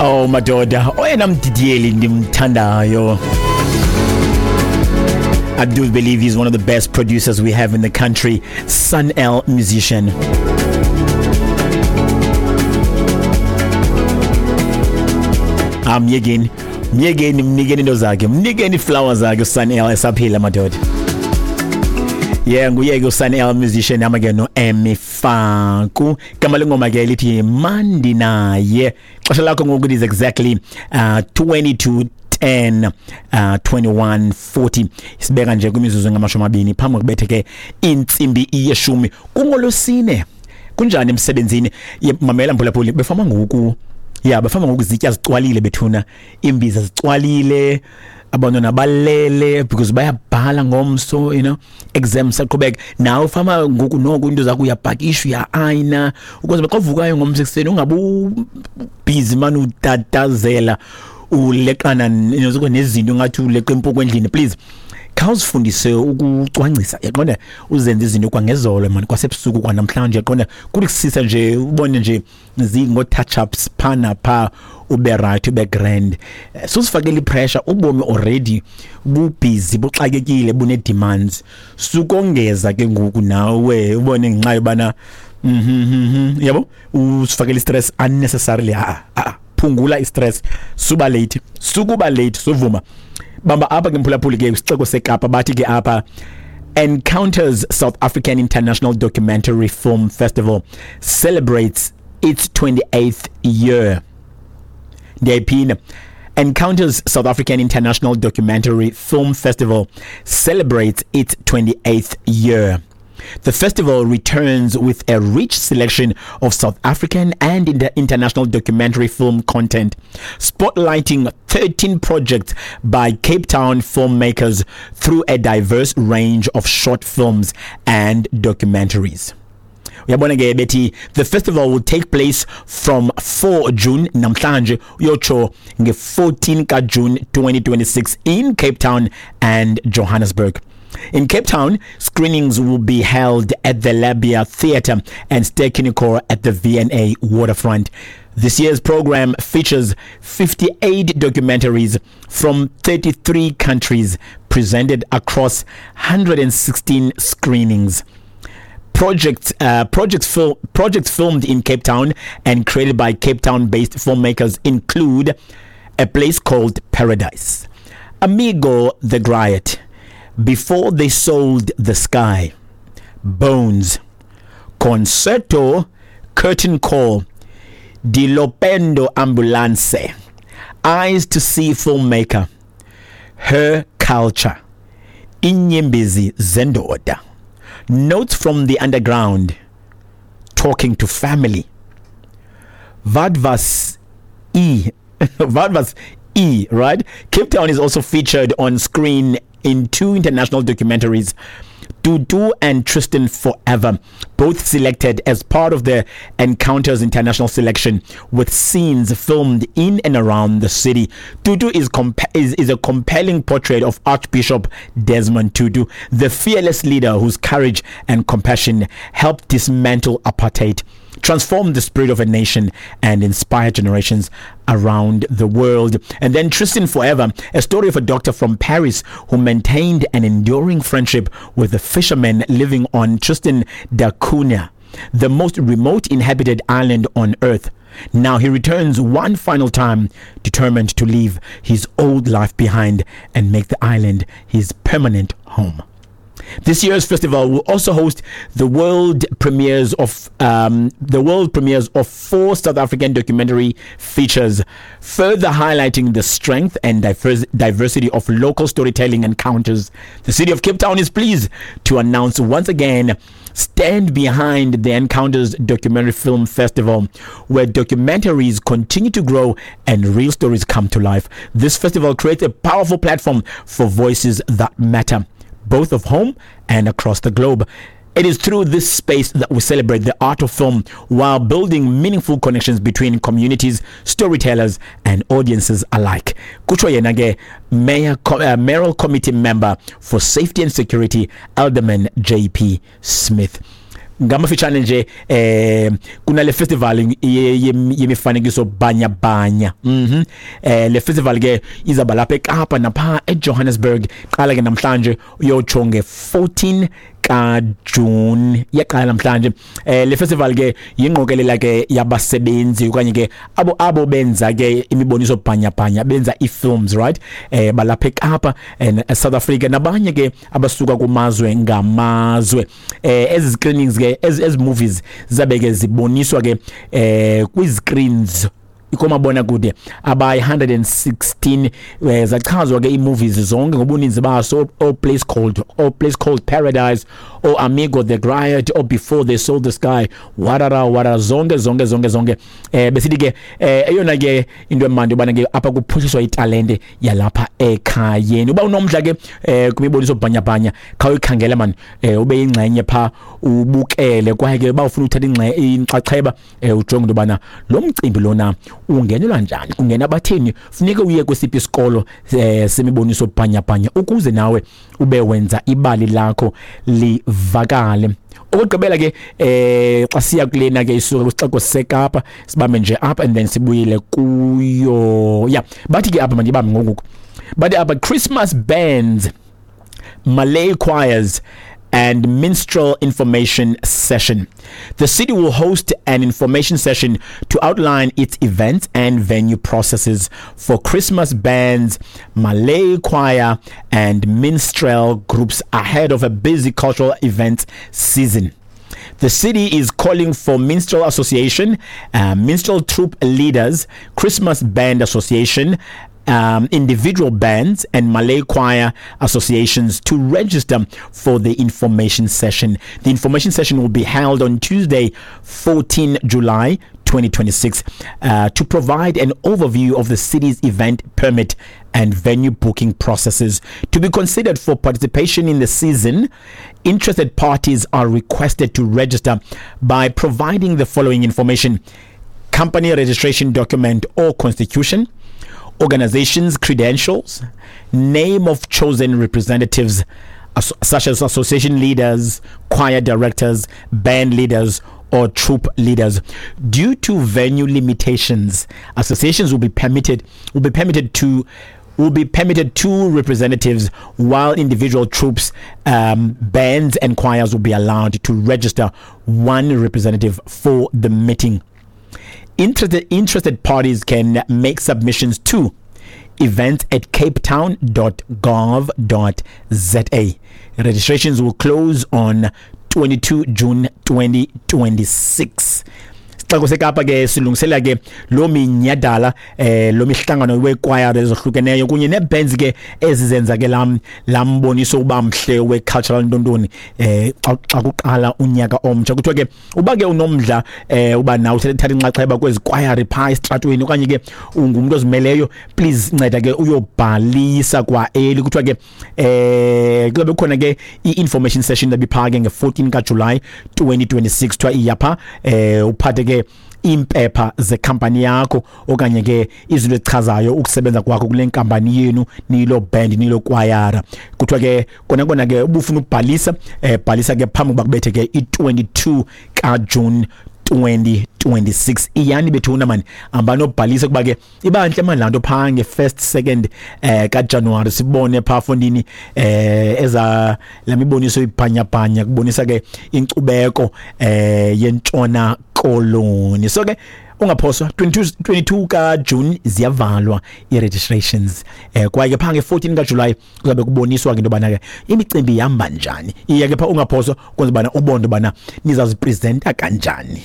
Oh madoda, oyena mdidiyeli ndimthandayo. I do believe he's one of the best producers we have in the country, Sun El musician. Amyekeni, myekeni, mnikeni into zakhe, mnikeni flowers zakhe uSun El esaphila madoda. Yeah, nguye ke uSun El musician hamba ke no-Emi Faku. Igama lengoma ke lithi Mandi naye. Xesha lakho ngoku it is exactly 22:10 21:40. Sibeka nje kwimizuzu engamashumi amabini phambi kokubethe ke intsimbi yeshumi kungolwesine. Kunjani emsebenzini? Mamela mphulaphuli, befama ngoku. Ya, bafama ngoku izitya zicwalile bethuna, iimbiza zicwalile, abantwana balele because bayabhala ngomso, exams saqhubeka. Nawe fama ngoku noko into zakho uyapakisha, uya-ayina ukuze xa uvukayo ngomso ekuseni ungabe busy mani utatazela uleqana nezinto ngathi uleqa impuku endlini. Please khawuzifundise ukucwangcisa, yaqonda, uzenze izinto kwangezolo mani, kwasebusuku kwanamhlanje, yaqonda, kuthi kusisa nje ubone nje zingo-touch ups pha napha, ube right, ube grand. Susifakele ipressure, ubomi already bubhizi, buxakekile, bune-demands. Sukongeza ke ngoku nawe ubone ngenxa yobana yabo usifakele istress unnecessarily. A a phungula istress, suba late, sukuba late, suvuma. Bamba apha ke mphulaphuli ke kwisixeko seKapa, bathi ke apha Encounters South African International Documentary Film Festival celebrates its 28th year. Ndiyayiphinda. Encounters South African International Documentary Film Festival celebrates its 28th year. The festival returns with a rich selection of South African and international documentary film content, spotlighting 13 projects by Cape Town filmmakers through a diverse range of short films and documentaries. Uyabona ke bethi the festival will take place from 4 June namhlanje uyotsho nge-14 kaJune 2026 in Cape Town and Johannesburg. In Cape Town, screenings will be held at the Labia Theatre and Ster-Kinekor at the V&A Waterfront. This year's program features 58 documentaries from 33 countries presented across 116 screenings. Projects filmed in Cape Town and created by Cape Town-based filmmakers include A Place Called Paradise, Amigo the Griot, Before They Sold the Sky, Bones, Concerto, Curtain Call, Dilopendo Ambulance, Eyes to See Filmmaker, Her Culture, Inyembezi Zendoda, Notes from the Underground, Talking to Family, Vadvas E. Vadvas E, right? Cape Town is also featured on screen in two international documentaries, Tutu and Tristan Forever, both selected as part of the Encounters International Selection, with scenes filmed in and around the city. Tutu is a compelling portrait of Archbishop Desmond Tutu, the fearless leader whose courage and compassion helped dismantle apartheid, transform the spirit of a nation, and inspire generations around the world. And then Tristan Forever, a story of a doctor from Paris who maintained an enduring friendship with a fisherman living on Tristan da Cunha, the most remote inhabited island on earth. Now he returns one final time, determined to leave his old life behind and make the island his permanent home. This year's festival will also host the world premieres of four South African documentary features, further highlighting the strength and diversity of local storytelling encounters. The city of Cape Town is pleased to announce once again stand behind the Encounters Documentary Film Festival, where documentaries continue to grow and real stories come to life. This festival creates a powerful platform for voices that matter, both of home and across the globe. It is through this space that we celebrate the art of film while building meaningful connections between communities, storytellers, and audiences alike. Kutsho yena ke Mayoral Committee Member for Safety and Security, Alderman JP Smith. Ngamafitshane nje, kunale festival yemifanekiso bhanya bhanya. Le festival ke izaba lapha eKapa napha eJohannesburg. Qala ke namhlanje uyotsho nge-14 kaJune, iyaqala namhlanje. Le festival ke yingqokelela ke yabasebenzi okanye ke abo benza ke imiboniso bhanya-bhanya, benza ii-films, right, balapha eKapa and South Africa nabanye ke abasuka kumazwe ngamazwe. Ezi screenings ke, ezi movies zizabe ke ziboniswa ke kwi-screens komabonakude abayi-116. Zachazwa ke ii-movies zonke ngobuninzi baso, o Place Called Paradise, o Amigo the Griot, o Before They Sold the Sky, warara warara, zonke zonke zonke zonke. Besithi ke eyona ke into emandi ubana ke apha kuphuhliswa italente yalapha ekhayeni. Uba unomdla ke kwimiboniso bhanyabhanya, khawuyikhangela man, ube yingxenye pha, ubukele. Kwaye ke uba ufuna uthatha inxaxheba, ujonge into yobana lo mcimbi lona ungenelwa njani, kungena batheni, funeke uye kwesiphi isikolo semiboniso bhanyabhanya ukuze nawe ube wenza ibali lakho livakale. Okugqibela ke, xa siya kulena ke isuka kwisixeko seKapa, sibambe nje apha and then sibuyele kuyo. Yeah, bathi ke apha, mandibambe ngoku, bathi apha Christmas bands, Malay choirs and minstrel information session. The city will host an information session to outline its events and venue processes for Christmas bands, Malay choir, and minstrel groups ahead of a busy cultural event season. The city is calling for Minstrel Association, Minstrel Troupe leaders, Christmas Band Association, individual bands, and Malay choir associations to register for the information session. The information session will be held on Tuesday, 14 July 2026, to provide an overview of the city's event permit and venue booking processes. To be considered for participation in the season, interested parties are requested to register by providing the following information: company registration document or constitution, organization's credentials, name of chosen representatives, such as association leaders, choir directors, band leaders, or troupe leaders. Due to venue limitations, associations will be permitted two representatives, while individual troupes, bands, and choirs will be allowed to register one representative for the meeting. Interested parties can make submissions to events@capetown.gov.za. Registrations will close on 22 June 2026. Sixeko seKapa ke silungisela ke lo minyadala, lo mihlangano wekwayara ezohlukeneyo kunye nebands ke ezizenza ke lam lamboniso uba mhle we-cultural ntontoni xa kuqala unyaka omtsha. Kuthiwa ke uba ke unomdla uba nawe uthatha inxaxheba kwezi kwayari phaa esitratweni okanye ke ungumntu ozimeleyo, please nceda ke uyobhalisa kwa eli. Kuthiwa ke kuzabe kukhona ke i-information session ebiphaa ke nge-14 kaJulayi 2026. Kuthiwa iyapha uphathe ke impepha zekhampani yakho okanye ke izinto ezichazayo ukusebenza kwakho kule nkampani yenu, nilo band, nilo kwayara. Kuthiwa ke kona kona ke ubufuna ukubhalisa, bhalisa ke phambi kuba kubethe ke i-22 kaJune 2026. Iyani bethuna mani, ambanobhalisa kuba ke iba ntle mani laa nto phaa nge-first, second kaJanuwari, sibone phaa fondini eza la miboniso ibhanyabhanya kubonisa ke inkcubeko yentshona Koloni. So ke ungaphoswa, 22 22 kaJune ziyavalwa i-registrations, kwaye ke phaa nge-14 kaJuly kuzabe kuboniswa ke into yobana ke imicimbi ihamba njani. Iya ke phaa, ungaphoswa, kwenza ubana ubone into yobana nizazipresenta kanjani.